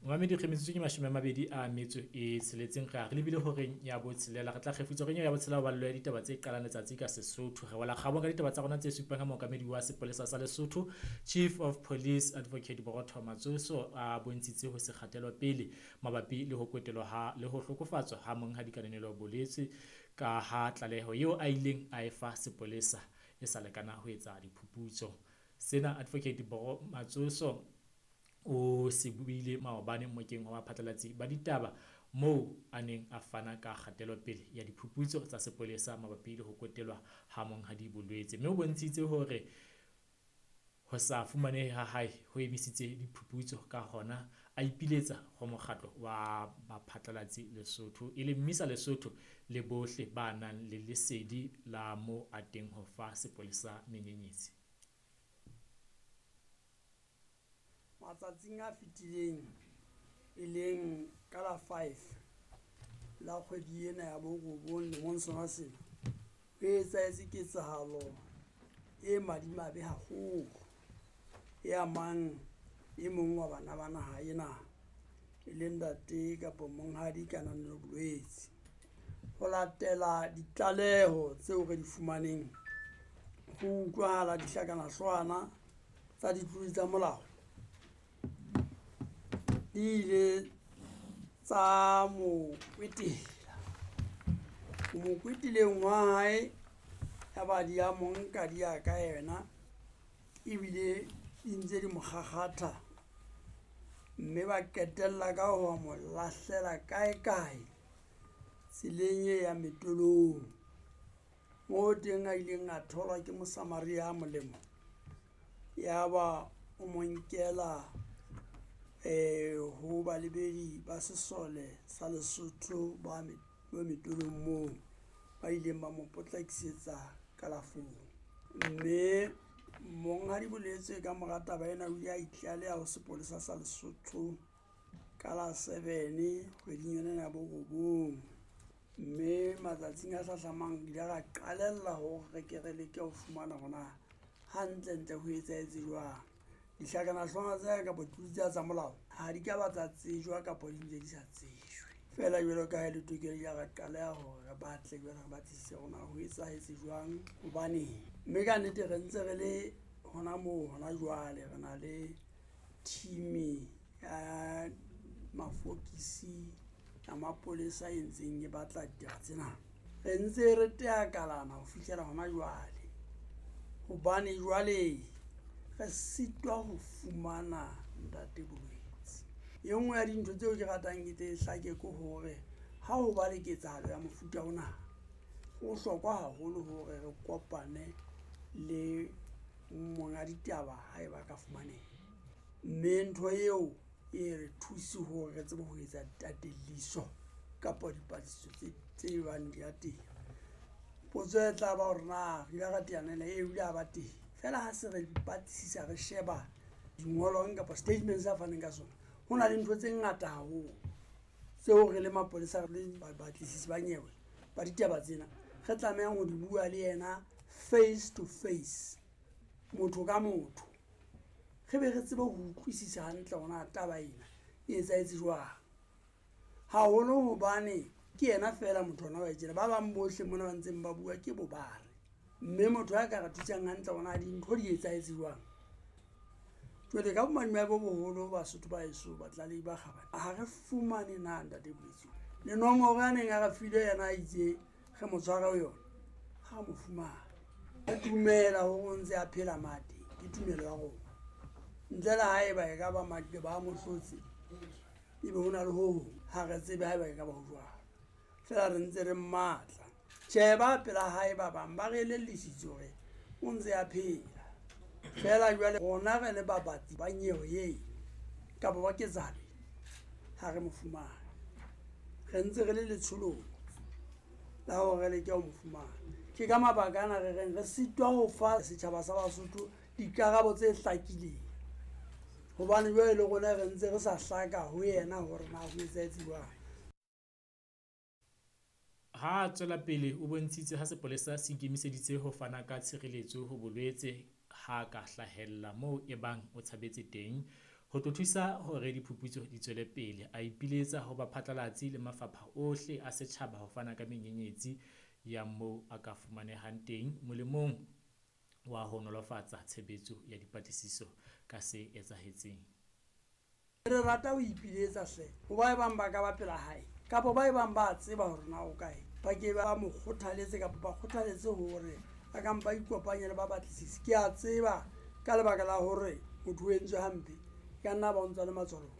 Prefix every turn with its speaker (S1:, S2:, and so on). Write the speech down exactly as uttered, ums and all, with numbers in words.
S1: Momamedi re metsotso ke mashome a mabedi a metso e tsheletseng, re a re lebile horeng ya botshelela. Re tla kgefutsa horeng ya botshelela ho ballo ya ditaba tse qalang letsatsi ka Sesotho. Re wela kgabong ka ditaba tsa rona tse supang ha mookamedi wa sepolesa sa Lesotho, Chief of Police Advocate Borotho Matsoso a bontshitse ho se kgatelopele mabapi le ho kwetelwa ha le ho hlokofatswa ha monghadi Kananelo Boletse, ka ha tlaleho eo a ileng a e fa sepolesa e sa lekana ho etsa diphuputso. Sena Advocate Boro Matsoso o se buile maobane mokeng wa baphatlalatsi ba ditaba moo a neng a fana ka kgatelopele ya diphuputso tsa sepolesa mabapi le ho kwetelwa ha monghadi Bolwetse, mme o bontshitse hore ho sa fumanehe ha hae ho emisitse diphuputso, ka hona a ipiletsa ho mokgatlo wa baphatlalatsi Lesotho, e leng Mmisa Lesotho, le bohle ba nang le lesedi la moo a teng ho fa sepolesa menyenyetsi.
S2: Matsatsing a fetileng, e leng ka la five la kgwedi ena ya borobong lemong sona sena, ho etsahetse ketsahalo e madimabe haholo e amang e mong wa bana ba naha ena, e leng ntate kapa monghadi Kananelo Bolwetse. Ho latela ditlaleho tseo re di fumaneng, ho utlwahala dihlakanahloohwana tsa ditlodi tsa molao di ile tsa mo kwetela. Ho mo kweteleng wa hae, ya ba di a mo nka di ya ka yena, ebile di ntse di mo kgakgatha, mme ba qetella ka ho mo lahlela kae-kae tseleng e yang metolong, moo teng a ileng a tholwa ke Mosamaria a molemo, ya ba o mo nkela um ho balebedi ba sesole sa Lesotho ba ba metolong moo, ba ileng ba mo potlakisetsa kalafong. Mme monghadi Boletse ka mora taba ena o ile a itlaleha ho sepolesa sa Lesotho ka la seven kgweding yona ena ya borobong. Mme matsatsing a hlahlamang re ile ra qalella hore re ke re leke ho fumana hore na hantlentle ho etsahetse jwang. Dihlakanahloohwana tsena kapa ditlodi tsena tsa molao ha di ka ba tsa tsejwa kapa di ntse di sa tsejwe. Feela jwalo ka ha e le tokelo, ile ra qaleha hore re batle jwale re batlisise hore na ho etsahetse jwang, hobaneng. Mme ka nnete re ntse re le hona moo hona jwale, re na le team-i ya mafokisi ya mapolesa e ntseng e batla ditaba tsena. Re ntse re teakalana ho fihlela hona jwale, hobane jwale re sitwa ho fumana ntate Bolwetse. E nngwe ya dintho tseo ke ratang ke tle e hlake ke hore ha ho ba le ketsahalo ya mofuta ona, ho bohlokwa haholo hore re kopane le monga ditaba ha eba ka fumaneha. Mme ntho eo e re thuse hore re tsebe ho etsa tateliso kapa dipatlisiso tse tse bang di ya teng. Potso e tla ba hore na re ile ra teana le ena, e o ile a ba teng. Feela ha se re batlisisa, re sheba dingolwang kapa statement sa faneng ka sona, ho na le ntho tse ngata haholo tseo re le mapolesa re le batlisisi ba nyewe ba ditaba tsena re tlamehang ho di bua le yena face to face, motho ka motho, re be re tsebe ho utlwisisa hantle hore na taba ena e etsahetse jwang. Haholo hobane ke yena feela motho ona wa e tjena, ba bang bohle mona ba ntseng ba bua ke bobare. Mme motho a ka re thusang hantle hore na dintho di etsahetse jwang. Jwale ka bomadimabe bo boholo Basotho ba heso, batlalehi ba kgabane, ha re fumane na ntate Boletse. Le nomoro a neng a re file yena a itse re mo tshware ho yona, ha re mo fumane. Re dumela hore o ntse a phela mate, ke tumelo ya rona. Ntle le haeba e ka ba maqeba a mo hlotse, ebe ho na le ho hong, ha re tsebe haeba e ka ba ho jwalo. Feela re ntse re mmatla. Tjhe, ba pela hae ba bang ba re elellisitse hore o ntse a phela. Feela jwale rona re le babatli ba nyewe eo kapa ba ketsahalo, ha re mo fumane. Re ntse re le letsholong la hore re leke ho mo fumana. Ke ka mabaka ana re reng re sitwa ho fa setjhaba sa Basotho dikarabo tse hlakileng, hobane jwale le rona re ntse re sa hlaka ho yena hore na ho etsahetse jwang.
S1: Ha a tswela pele o bontshitse ha sepolesa se ikemiseditse ho fana ka tshireletso ho Bolwetse ha ka hlahella moo e bang o tshabetse teng, ho tlo thusa hore diphuputso di tswele pele. A ipiletsa ho baphatlalatsi le mafapha ohle a setjhaba ho fana ka menyenyetsi ya moo a ka fumanehang teng molemong wa ho nolofatsa tshebetso ya dipatlisiso ka se etsahetseng.
S2: Re rata ho ipiletsa hle ho ba bang ba ka ba pela hae kapa ba bang ba tseba hore na o kae, ba ke ba mo kgothaletse kapa ba kgothaletse hore a ka mpa ikopanye le ba batlisisi. Ke a tseba ka lebaka la hore motho o entswe hampe, ka nna ba o ntsa le matswalo.